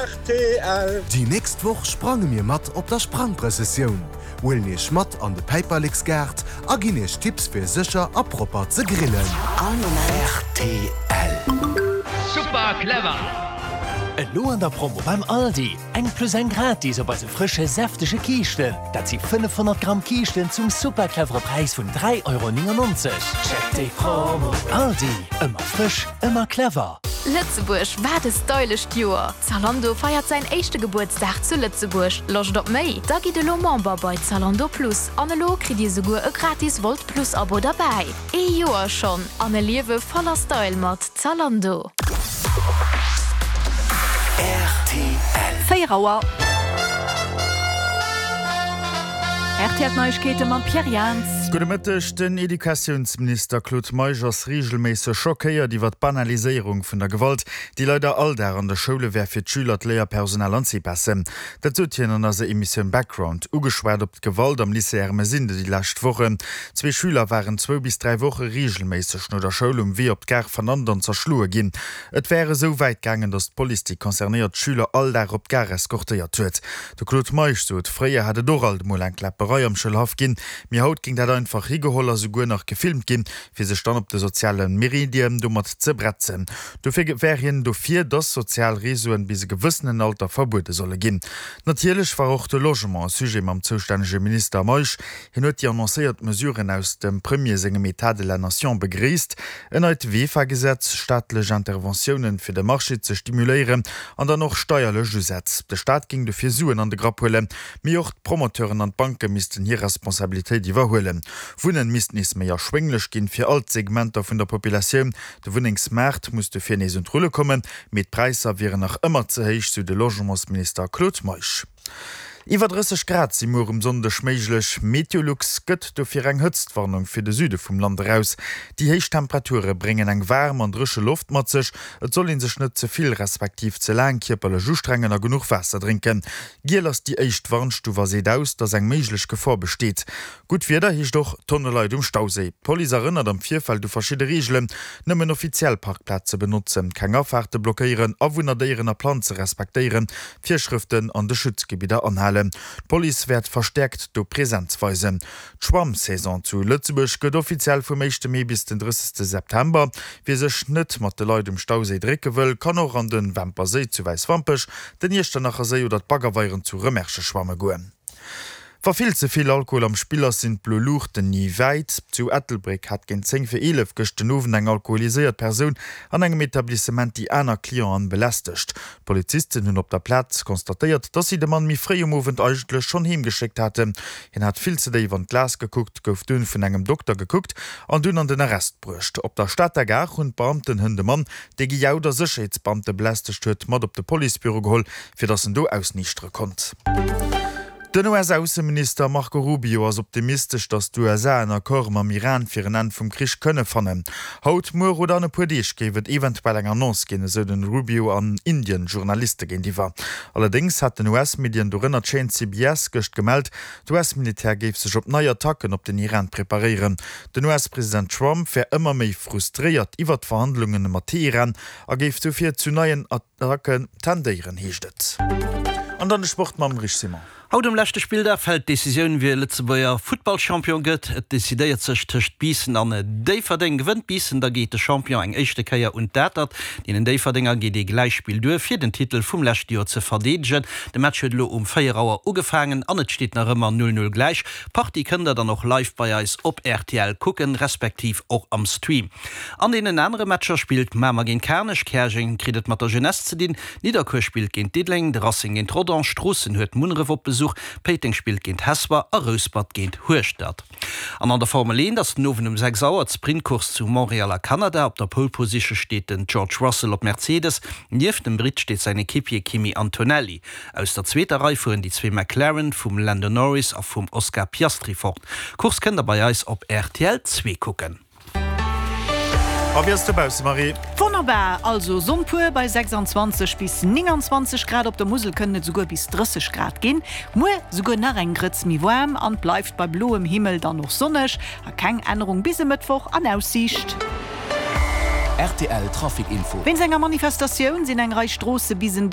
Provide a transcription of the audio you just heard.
Rtl. Déi nächst Woch sprange mir mat op der Sprangprëssessioun, huelen iech mat an de Päiperleksgaart a ginn iech Tipps fir sécher a propper ze grillen. All Moment. Rtl. Super clever! Elo an der Promo beim Aldi, eng plus eng gratis op eise frësche säftege Kiischten. Dat si 500 Gramm Kiischten zum super clevere Präis vun 3,99 Euro. Check déi Promo! Aldi, ëmmer frësch, ëmmer clever! Lëtzebuerg, wat e stylescht Joer! Zalando feiert säin éischte Gebuertsdag zu Lëtzebuerg. Loscht op méi? Da gitt elo Member bei Zalando Plus an elo kritt dir souguer e gratis Wolt Plus Abo derbäi. Ee Joer schonn an e Liewe voller Style mat Zalando. Rtl. 4 Auer. RTL Neiegkeete mam Pierre Jans. Gudde Mëtteg. Den Educatiounsminister Claude Meisch ass reegelméisseg schockéiert iwwer d'Banaliséierung vun der Gewalt, déi leider all Dag an de Schoule wär fir d'Schüler, d'Léierpersonal an d'Cipas'en. Dat sot hien an eiser Emissioun Background. Ugeschwat op d'Gewalt am Lycée Ermesinde déi lescht Wochen. Zwee Schüler waren zwou bis 3 Woche reegelméisseg no der Schoul um Wee op d'Gare vernannt an zerschloe ginn. Et wär esou wäit gaangen, datt d'Police déi concernéiert Schüler all Dag op d'Gare eskortéiert huet. De Claude Meisch sot, fréier hätt et och alt emol eng Kläpperei am Schoulhaff ginn, mee haut géing dat einfach higeholl a souguer nach gefilmt ginn, fir sech dann op de soziale Meredien domat ze bretzen. Dofir wär hien dofir, dass sozial Reseauen bis e gewëssenen Alter verbuede solle ginn. Natierlech war och de Logement e Sujet mam zoustännege Minister Meisch. Hien huet déi annoncéiert Mesuren aus dem Premier sengem État de la nation begréisst, en neit VEFA-Gesetz, staatlech Interventiounen, fir de Marché ze stimuléieren an dann och steierlech Usätz. De Staat géing dofir Suen an de Grapp huelen, mee och d'Promoteuren an d'Banke missten hir Responsabilitéit iwwerhuelen. Wunnen misst nees méi erschwénglech ginn, fir all d'Segmenter vun der Populatioun. De Wunnengsmaart muss dofir nees un d'Rulle kommen, mee d'Präisser wieren nach ëmmer ze héich, sou de Logementsminister Claude Meisch. Iwwer 30 Grad si muer um Sonndeg méiglech. Meteolux gëtt dofir eng Hëtztwarnung fir de Süde vum Land eraus. Déi héich Temperature bréngen eng waarm an dréche Loft mat sech. Et soll ee sech net ze vill respektiv ze laang kierperlech ustrengen a genuch Waasser drénken. Giel ass déi éischt Warnstuf a seet aus, dass eng méiglech Gefor besteet. Gutt Wieder heescht och Tonne Leit um Stauséi. D'Police erënnert am Virfeld u verschidde Reegelen, Nëmmen offiziell Parkplaze benotzen, keng Afaarte blockéieren, Awunner, Déieren a Planze respektéieren, d'Virschrëften an de Schutzgebidder anhalen. D'Police wäert verstäerkt do Presenz weisen. D'Schwammsaison zu Lëtzebuerg gëtt offiziell vum éischte Mee bis den 30 September. Wie sech net mat de Leit um Stauséi drécke wëll, kann och an de Wämper Séi zu Wäiswampech, den Iechternacher Séi oder d'Baggerweieren zu Remerschen schwamme goen. Wa vill ze vill Alkohol am Spill ass, sinn d'blo Luuchten ni wäit. Zu Ettelbréck hat géint 10 fir 11 gëscht den Owend eng alkoholiséiert Persoun an engem Etablissement déi aner Clienten belästegt. D'Polizisten hunn op der Plaz constatéiert, dass si de Mann méi fréi um Owend eigentlech schonn heem geschéckt haten. Hien hat vill ze déif an d'Glas gekuckt, gouf dunn vun engem Dokter gekuckt an dunn an den Arrest bruecht. Op der Stater Gare hunn d'Beamten hënt de Mann, dee gejaut a Sécherheetsbeamte belästegt huet, mat op de Policebüro geholl, fir dass en do ausniichtere konnt. Den US-Ausseminister Marco Rubio ass optimistesch, datt d'USA en Accord mam Iran fir en Enn vum Krich kënne fannen. Haut, muer oder an e puer Deeg géif et eventuell eng Annonce ginn, esou den Rubio an Indien Journaliste géintiwwer. Allerdéngs haten US-Medien, dorënner d'Chaîne CBS, gëscht gemellt, d'US-Militär géif sech op nei Attacken op den Iran preparéieren. Den US-President Trump wär ëmmer méi frustréiert iwwer d'Verhandlunge mat Teheran a géif dofir zu neien Attacke tendéieren, heescht et. An dann de Sport mam Rich Simon. Haut um leschte Spilldag fält d'Decisioun, wie Lëtzebuerger Futtballchampion gëtt. Et decidéiert sech tëscht Biissen an Déifferdeng. Gewënnt Biissen, da geet de Champion eng éischte Kéier un d'Atert. Deenen Déifferdenger geet ee Gläichspill duer, fir den Titel vum leschte Joer ze verdeedegen. De Match huet elo um 4 Auer ugefaangen an et steet nach ëmmer 0, 0 gläich. D'Partie kënnt der dann och live bei eis op rtl kucken, respektiv och am Stream. An deenen anere Matcher spillt Mamer géint Kanech, Käerjeng kritt et mat der Jeunesse ze dinn, Nidderkuer spillt géint Diddeleng, de Racing géint Rodange, Stroossen huet Munneref op Besuch, Péiteng spillt géint Hesper a Rouspert géint Hueschtert. An an der Formel 1 ass den Owend um 6 Auer d'Sprintcourse zu Montréal a Kanada. Op der Pole Position steet den George Russell op Mercedes, nieft dem Britt steet säin Equipier Kimi Antonelli. Aus der zweeter Rei fueren déi zwee McLaren vum Lando Norris a vum Oscar Piastri fort. D'Course kënnt der bei eis op rtl 2 kucken. A wéi ass et dobausse, Marie? Wonnerbar! Also Sonn pur bei 26 bis 29 Grad, op der Musel kënnen et souguer bis 30 Grad ginn. Muer souguer nach eng Grëtz méi waarm an bleift bei bloem Himmel dann och sonneg a keng Ännerung bis e Mëttwoch an Aussiicht. Rtl Trafic Info. Wéinst enger Manifestatioun sinn eng Rei Stroosse bis en.